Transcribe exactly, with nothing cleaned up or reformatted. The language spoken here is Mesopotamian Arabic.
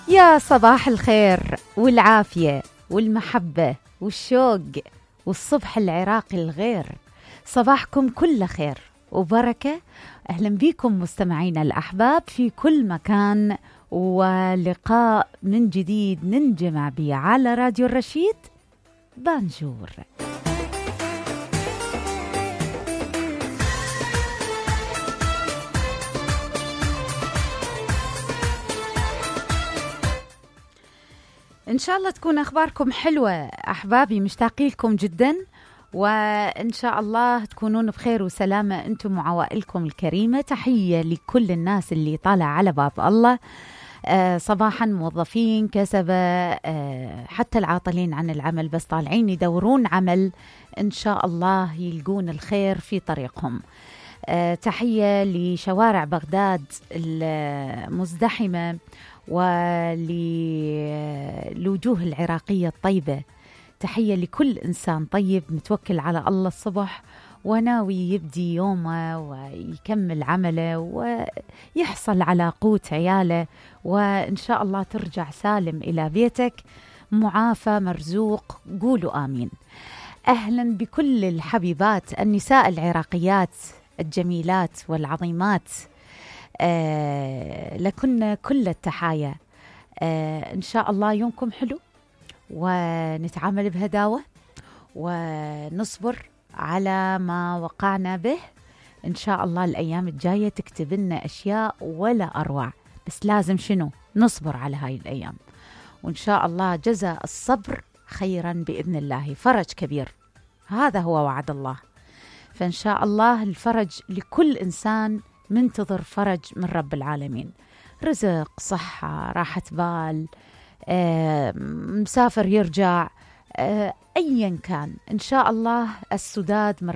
يا صباح الخير والعافية والمحبة والشوق والصبح العراقي الغير. صباحكم كله خير وبركة. أهلا بكم مستمعينا الأحباب في كل مكان، ولقاء من جديد ننجمع به على راديو الرشيد بانجور. إن شاء الله تكون أخباركم حلوة أحبابي، مشتاقين لكم جدا، وإن شاء الله تكونون بخير وسلامة أنتم وعوائلكم الكريمة. تحية لكل الناس اللي طالع على باب الله آه صباحا، موظفين كسبة آه حتى العاطلين عن العمل بس طالعين يدورون عمل، إن شاء الله يلقون الخير في طريقهم. آه تحية لشوارع بغداد المزدحمة وللوجوه العراقية الطيبة. تحية لكل إنسان طيب متوكل على الله الصبح وناوي يبدي يومه ويكمل عمله ويحصل على قوت عياله، وإن شاء الله ترجع سالم إلى بيتك معافى مرزوق. قولوا آمين. أهلا بكل الحبيبات النساء العراقيات الجميلات والعظيمات، آه لكن كل التحايا. آه إن شاء الله يومكم حلو ونتعامل بهداوة ونصبر على ما وقعنا به. إن شاء الله الأيام الجاية تكتب لنا أشياء ولا أروع، بس لازم شنو نصبر على هاي الأيام، وإن شاء الله جزاء الصبر خيرا بإذن الله. فرج كبير، هذا هو وعد الله، فإن شاء الله الفرج لكل إنسان منتظر فرج من رب العالمين، رزق، صحة، راحة بال، آه، مسافر يرجع، آه، أيا كان إن شاء الله السداد من